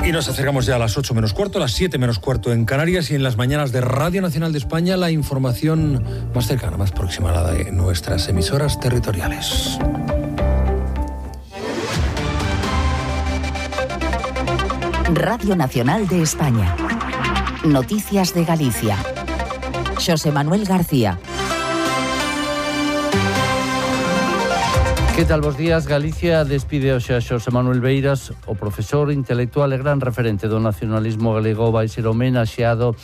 Y nos acercamos ya a las 8 menos cuarto, a las 7 menos cuarto en Canarias, y en las mañanas de Radio Nacional de España la información más cercana, más próxima a la de nuestras emisoras territoriales. Radio Nacional de España. Noticias de Galicia. Xosé Manuel García. Que tal, bos días? Galicia despide hoxe a Xosé Manuel Beiras, o profesor intelectual e gran referente do nacionalismo galego. Vai ser homenaxeado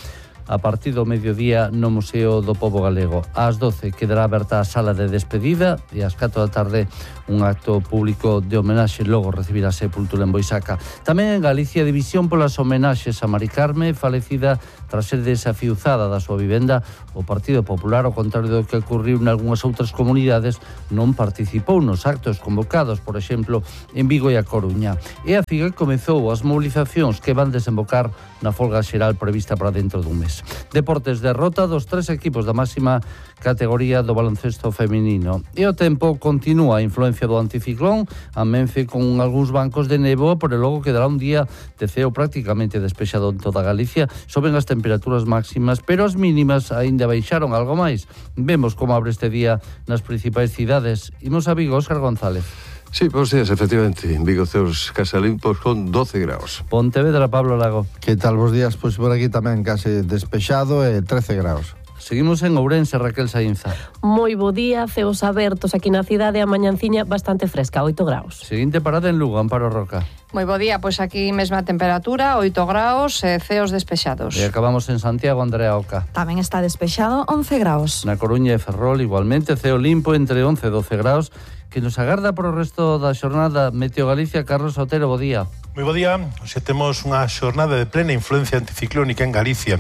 a partir do mediodía no Museo do Pobo Galego. Ás 12 quedará aberta a sala de despedida e ás 4 da tarde un acto público de homenaxe, logo recibirá sepultura en Boisaca. Tamén en Galicia, división polas homenaxes a Mari Carme, falecida tras ser desafiuzada da súa vivenda. O Partido Popular, ao contrario do que ocurriu en algunhas outras comunidades, non participou nos actos convocados, por exemplo, en Vigo e a Coruña. E a FIGA comezou as mobilizacións que van desembocar na folga xeral prevista para dentro dun mes. Deportes, derrota dos 3 equipos da máxima categoría do baloncesto feminino. E o tempo continúa a influencia do anticiclón, amense con algúns bancos de néboa, pero logo quedará un día de ceo prácticamente despexado en toda Galicia. Soben as temperaturas máximas, pero as mínimas aínda baixaron algo máis. Vemos como abre este día nas principais cidades. Imos a Vigo, Óscar González. Sí, bons días, efectivamente. En Vigo ceos case limpos con 12 graus. Pontevedra, Pablo Lago. Que tal, bons días? Pois por aquí tamén case despexado e 13 graus. Seguimos en Ourense, Raquel Saínza. Moi bo día, ceos abertos aquí na cidade, a mañanciña bastante fresca, 8 graus. Seguinte parada en Lugo, Amparo Roca. Moi bo día, pois aquí mesma temperatura, 8 graus e ceos despexados. E acabamos en Santiago, Andrea Oca. Tamén está despexado, 11 graus. Na Coruña e Ferrol, igualmente, ceo limpo entre 11 e 12 graus, que nos agarda para o resto da xornada. Meteo Galicia, Carlos Otero, bo día. Moi bo día, hoxe temos unha xornada de plena influencia anticiclónica en Galicia.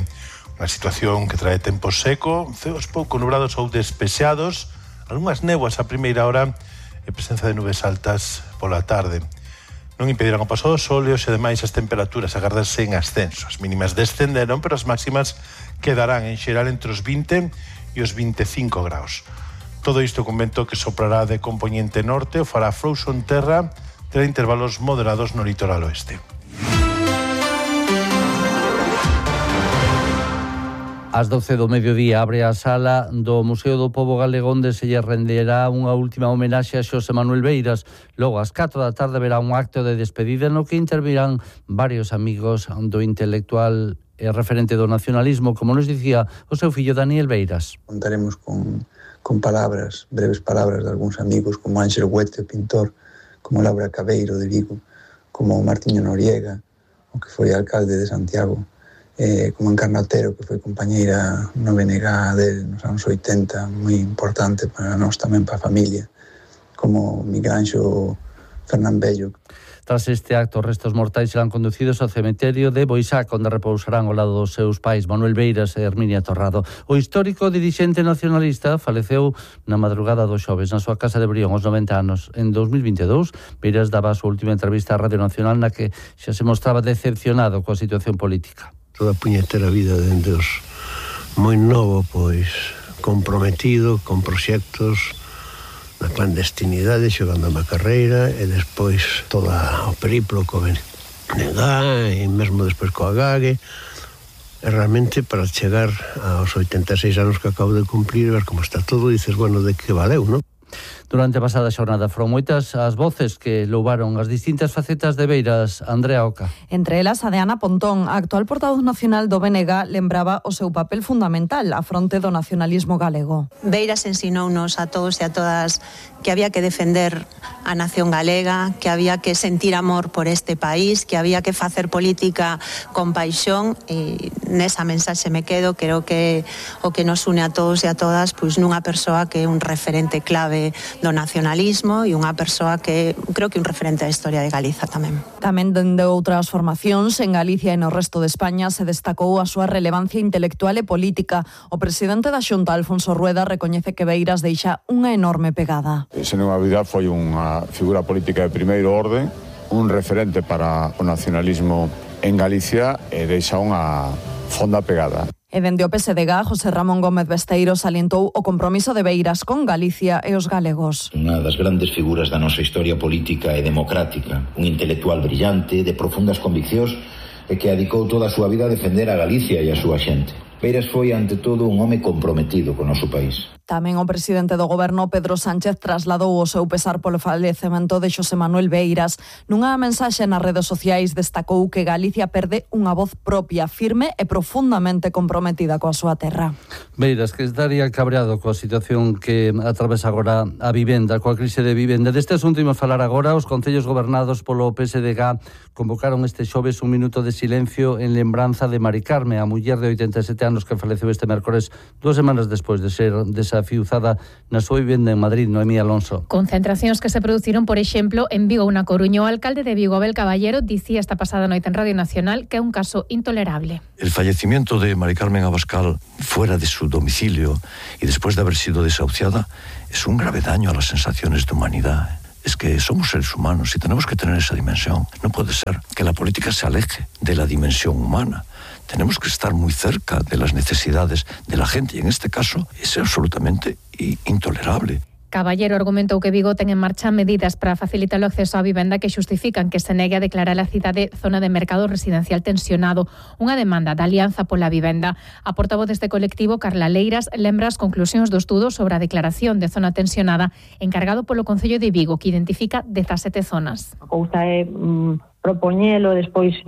Unha situación que trae tempo seco, ceos pouco nubrados ou despexados, algunhas néboas a primeira hora e presenza de nubes altas pola tarde. Non impedirán o paso do sol e hoxe ademais as temperaturas agardanse en ascenso. As mínimas descenderon, pero as máximas quedarán en xeral entre os 20 e os 25 graus. Todo isto con vento que soprará de compoñente norte o fará frouxo en terra, terá intervalos moderados no litoral oeste. Ás 12 do mediodía abre a sala do Museo do Pobo Galego, onde se lle renderá unha última homenaxe a Xosé Manuel Beiras. Logo, ás 4 da tarde, verá un acto de despedida no que intervirán varios amigos do intelectual e referente do nacionalismo, como nos dicía o seu fillo Daniel Beiras. Contaremos con palabras, breves palabras de algúns amigos como Ángel Huete, pintor, como Laura Cabeiro de Vigo, como Martiño Noriega, o que foi alcalde de Santiago, como Encarna Otero, que foi compañeira no BNG del nos anos 80, moi importante para nós tamén, para a familia, como Miguel Anxo Fernán Bello. Tras este acto, os restos mortais serán conducidos ao cemiterio de Boisaca, onde repousarán ao lado dos seus pais, Manuel Beiras e Herminia Torrado. O histórico dirixente nacionalista faleceu na madrugada do xoves na súa casa de Brión, aos 90 anos. En 2022, Beiras daba a súa última entrevista á Radio Nacional, na que xa se mostraba decepcionado coa situación política. Toda a puñetera vida dende os moi novo, pois comprometido con proxectos na clandestinidade, xogando a carreira, e despois todo o periplo co BNG, e mesmo despois coa GAG, e realmente para chegar aos 86 anos que acabo de cumprir, ver como está todo, dices, bueno, de que valeu, non? Durante a pasada xornada foron moitas as voces que louvaron as distintas facetas de Beiras. Andrea Oca. Entre elas, a de Ana Pontón, a actual portavoz nacional do BNG, lembraba o seu papel fundamental á fronte do nacionalismo galego. Beiras ensinounos a todos e a todas que había que defender a nación galega, que había que sentir amor por este país, que había que facer política con paixón, e nesa mensaxe me quedo. Creo que o que nos une a todos e a todas, pois nunha persoa que é un referente clave do nacionalismo e unha persoa que creo que é un referente da historia de Galiza tamén. Tamén dende outras formacións en Galicia e no resto de España se destacou a súa relevancia intelectual e política. O presidente da Xunta, Alfonso Rueda, recoñece que Beiras deixa unha enorme pegada. Sen unha dúbida foi unha figura política de primeiro orden, un referente para o nacionalismo en Galicia e deixa unha fonda pegada. E dende o PSDG, José Ramón Gómez Besteiro salientou o compromiso de Beiras con Galicia e os galegos. Unha das grandes figuras da nosa historia política e democrática, un intelectual brillante, de profundas conviccións e que dedicou toda a súa vida a defender a Galicia e a súa xente. Beiras foi, ante todo, un home comprometido co noso país. Tamén o presidente do goberno, Pedro Sánchez, trasladou o seu pesar polo falecemento de Xosé Manuel Beiras. Nunha mensaxe nas redes sociais destacou que Galicia perde unha voz propia, firme e profundamente comprometida coa súa terra. Beiras, que estaría cabreado coa situación que atravesa agora a vivenda, coa crise de vivenda. Deste asunto imos falar agora. Os concellos gobernados polo PSDG convocaron este xoves un minuto de silencio en lembranza de Mari Carme, a muller de 87 anos que faleceu este mércores 2 semanas despois de ser desafiuzada na súa vivenda en Madrid. Noemí Alonso. Concentracións que se produciron, por exemplo, en Vigo ou na Coruña. O alcalde de Vigo, Abel Caballero, dicía esta pasada noite en Radio Nacional que é un caso intolerable. El fallecimiento de Mari Carmen Abascal fuera de su domicilio y después de haber sido desahuciada es un grave daño a las sensaciones de humanidad. Es que somos seres humanos y tenemos que tener esa dimensión. No puede ser que la política se aleje de la dimensión humana. Tenemos que estar muy cerca de las necesidades de la gente y en este caso es absolutamente intolerable. Caballero argumentou que Vigo ten en marcha medidas para facilitar o acceso á vivenda que xustifican que se negue a declarar a cidade zona de mercado residencial tensionado, unha demanda da Alianza pola Vivenda. A portavoz deste colectivo, Carla Leiras, lembra as conclusións do estudo sobre a declaración de zona tensionada encargado polo Concello de Vigo, que identifica 17 zonas. A cousa é propoñelo, despois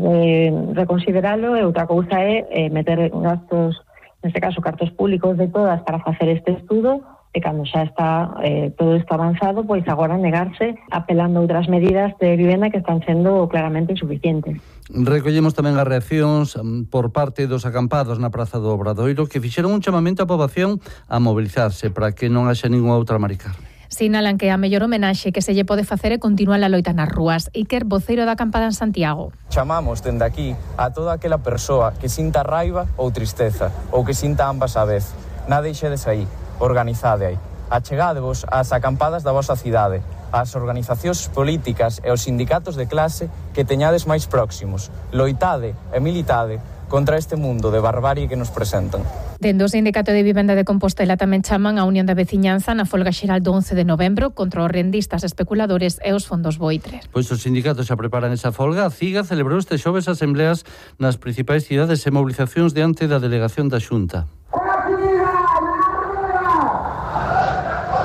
reconsideralo, e outra cousa é meter gastos, neste caso cartos públicos de todas para facer este estudo, e cando xa está todo isto avanzado, pois agora negarse apelando a outras medidas de vivenda que están sendo claramente insuficientes. Recollemos tamén as reaccións por parte dos acampados na Praza do Obradoiro que fixeron un chamamento á poboación a mobilizarse para que non haxa ninguna outra Mari Carme. Sinalan que a mellor homenaxe que se lle pode facer é continuar a loita nas rúas. Iker, voceiro da acampada en Santiago. Chamamos dende aquí a toda aquela persoa que sinta raiva ou tristeza, ou que sinta ambas a vez. Nada deixedes aí. Organizade aí. Achegádevos ás acampadas da vosa cidade, ás organizacións políticas e os sindicatos de clase que teñades máis próximos. Loitade e militade contra este mundo de barbarie que nos presentan. Dende o Sindicato de Vivenda de Compostela tamén chaman a Unión da Veciñanza na folga xeral do 11 de novembro contra os rendistas especuladores e os fondos voitres. Pois os sindicatos xa preparan esa folga. A CIGA celebrou este xoves asembleas nas principais cidades e mobilizacións diante da delegación da Xunta.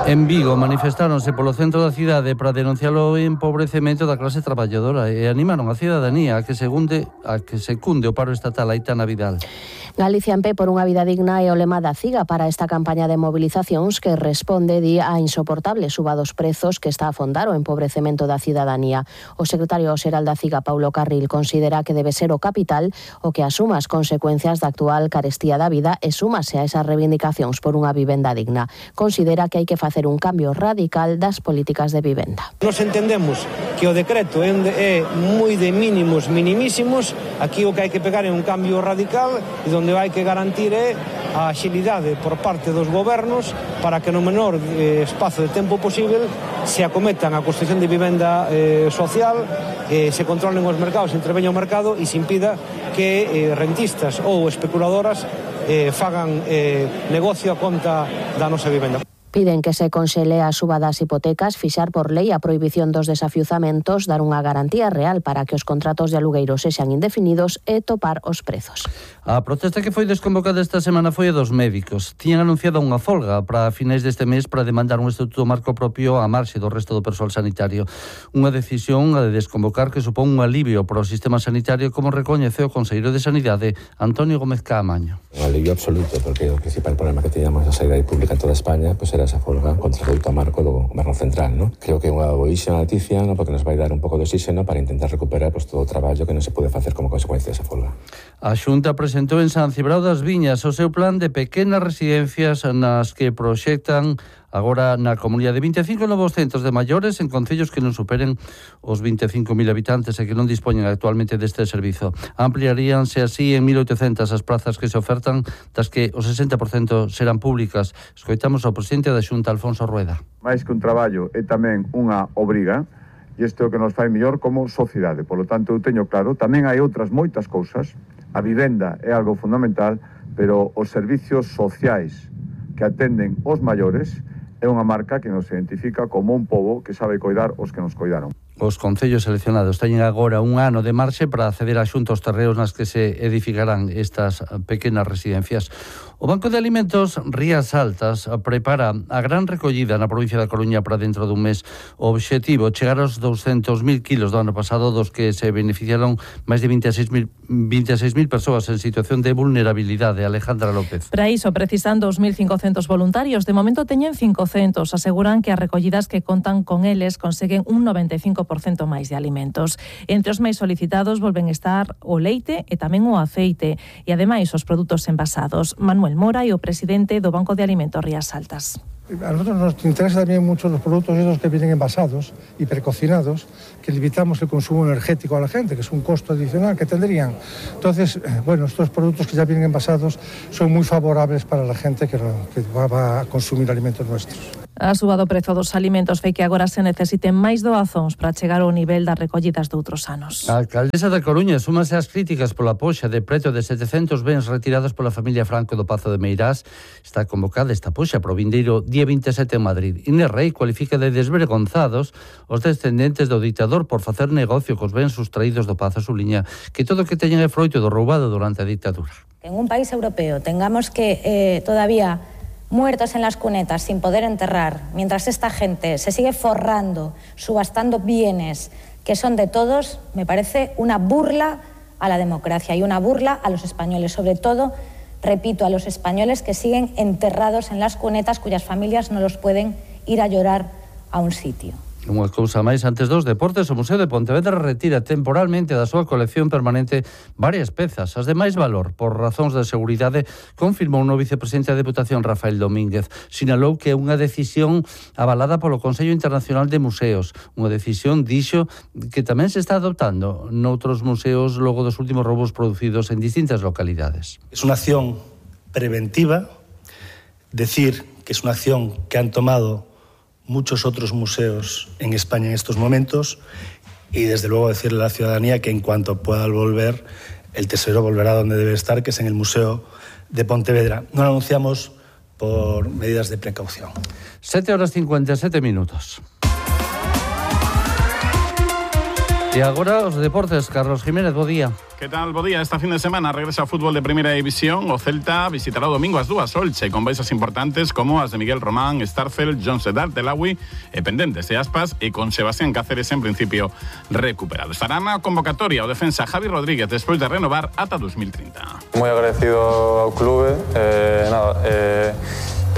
En Vigo manifestáronse polo centro da cidade para denunciar o empobrecemento da clase traballadora e animaron a cidadanía a que se cunde o paro estatal Aitana Vidal. Galicia en pé por unha vida digna é o lema da CIGA para esta campaña de movilizacións que responde á insoportable suba dos prezos que está a afondar o empobrecemento da cidadanía. O secretario xeral da CIGA, Paulo Carril, considera que debe ser o capital o que asuma as consecuencias da actual carestía da vida e súmase a esas reivindicacións por unha vivenda digna. Considera que hai que facer un cambio radical das políticas de vivenda. Nos entendemos que o decreto é moi de mínimos minimísimos, aquí o que hai que pegar é un cambio radical e onde hai que garantir é a axilidade por parte dos gobernos para que no menor espazo de tempo posible se acometan a construción de vivenda social, se controlen os mercados, se interveña o mercado e se impida que rentistas ou especuladoras fagan negocio a conta da nosa vivenda. Piden que se conxele a suba das hipotecas, fixar por lei a prohibición dos desafiuzamentos, dar unha garantía real para que os contratos de alugueiro sexan indefinidos e topar os prezos. A protesta que foi desconvocada esta semana foi a dos médicos. Tiñan anunciado unha folga para finais deste mes para demandar un estatuto marco propio á marxe do resto do persoal sanitario. Unha decisión a de desconvocar que supón un alivio para o sistema sanitario, como recoñece o conselleiro de Sanidade, Antonio Gómez Caamaño. Un alivio absoluto, porque o principal problema que teníamos na sanidade pública en toda España era esa folga contra o estatuto marco do goberno central, ¿no? Creo que é unha boísima noticia, ¿no? Porque nos vai dar un pouco de oxígeno para intentar recuperar todo o traballo que non se pode facer como consecuencia desa folga. A Xunta presentou en San Cibrao das Viñas o seu plan de pequenas residencias nas que proxectan agora na comunidade 25 novos centros de maiores en concellos que non superen os 25.000 habitantes e que non dispoñen actualmente deste servizo. Ampliaríanse así en 1.800 as plazas que se ofertan, das que o 60% serán públicas. Escoitamos ao presidente da Xunta, Alfonso Rueda. Mais que un traballo é tamén unha obriga, e isto é o que nos fai mellor como sociedade. Por lo tanto, eu teño claro, tamén hai outras moitas cousas. A vivenda é algo fundamental, pero os servicios sociais que atenden os maiores é unha marca que nos identifica como un pobo que sabe coidar os que nos coidaron. Os concellos seleccionados teñen agora un ano de marxe para acceder a xuntos terreos nas que se edificarán estas pequenas residencias. O Banco de Alimentos Rías Altas prepara a gran recollida na provincia da Coruña para dentro dun mes. O obxectivo chegar aos 200.000 kilos do ano pasado, dos que se beneficiaron máis de 26.000 persoas en situación de vulnerabilidade. Alejandra López. Para iso precisan 2.500 voluntarios. De momento teñen 500. Aseguran que as recollidas que contan con eles conseguen un 95% máis de alimentos. Entre os máis solicitados volven estar o leite e tamén o aceite e ademais os produtos envasados. Manuel Mora e o presidente do Banco de Alimentos Rías Altas. A nosotros nos interesa también mucho los productos esos que vienen envasados y precocinados, que limitamos el consumo energético a la gente, que es un costo adicional que tendrían. Entonces, bueno, estos productos que ya vienen envasados son muy favorables para la gente que va a consumir alimentos nuestros. A suba do prezo dos alimentos fai que agora se necesiten máis doazóns para chegar ao nivel das recollidas de outros anos. A alcaldesa da Coruña súmase ás críticas pola poxa de preto de 700 bens retirados pola familia Franco do Pazo de Meirás. Está convocada esta poxa pro vindeiro día 27 en Madrid. Inés Rey cualifica de desvergonzados os descendentes do dictador por facer negocio cos bens sustraídos do Pazo. Subliña que todo o que teñen é froito do roubado durante a dictadura. En un país europeo tengamos que todavía muertos en las cunetas sin poder enterrar, mientras esta gente se sigue forrando, subastando bienes que son de todos, me parece una burla a la democracia y una burla a los españoles, sobre todo, repito, a los españoles que siguen enterrados en las cunetas cuyas familias no los pueden ir a llorar a un sitio. Unha cousa máis, antes dos deportes, o Museo de Pontevedra retira temporalmente da súa colección permanente varias pezas, as de máis valor, por razóns de seguridade, confirmou o vicepresidente da Deputación Rafael Domínguez. Sinalou que é unha decisión avalada polo Consello Internacional de Museos, unha decisión, dixo, que tamén se está adoptando noutros museos logo dos últimos roubos producidos en distintas localidades. Es unha acción preventiva, decir que es unha acción que han tomado muchos otros museos en España en estos momentos y desde luego decirle a la ciudadanía que en cuanto pueda volver, el tesoro volverá donde debe estar, que es en el Museo de Pontevedra. No lo anunciamos por medidas de precaución. 7:57. E agora os deportes, Carlos Jiménez, bo día. Que tal, bo día? Esta fin de semana regresa ao fútbol de Primeira División. O Celta visitará o domingo as dúas Olche, con baixas importantes como as de Miguel Román, Starfel, John Sedar, Telawi e pendentes de Aspas, e con Sebastián Cáceres en principio recuperado. Estará na convocatoria o defensa Javi Rodríguez despois de renovar ata 2030. Moi agradecido ao clube,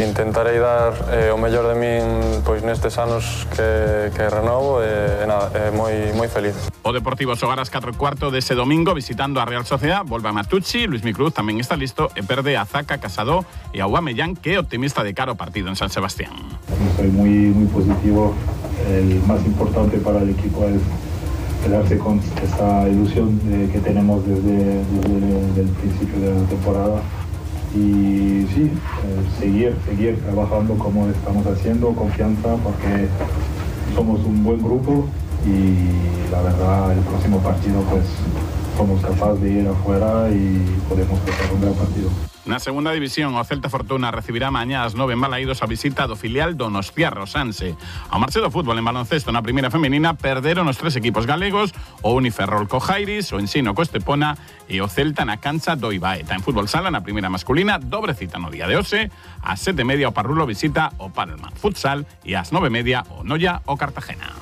intentarei dar o mellor de min pois nestes anos que renovo e moi feliz. O Deportivo xogará ás 4:15 dese domingo visitando a Real Sociedad. Volve a Matucci, Luis Micruz tamén está listo e perde a Zaka, Casado e a Aubameyang, que é optimista de cara ao partido en San Sebastián. Soy muy positivo. El más importante para el equipo es quedarse con esa ilusión que tenemos desde el principio de la temporada. Y sí, seguir trabajando como estamos haciendo, confianza, porque somos un buen grupo y la verdad el próximo partido pues somos capaces de ir afuera y podemos hacer un gran partido. Na segunda división, o Celta Fortuna recibirá mañá ás 9 en Balaídos a visita do filial Donostiarra Sanse. Ao marche do fútbol en baloncesto na primeira femenina perderon os tres equipos galegos, o Uniferrol co Jairis, o Ensino co Estepona e o Celta na cancha do Ibaeta. En fútbol sala, na primeira masculina, dobre cita no día de hoxe, ás 7:30 o Parrulo visita o Palma Futsal e ás 9:30 o Noia o Cartagena.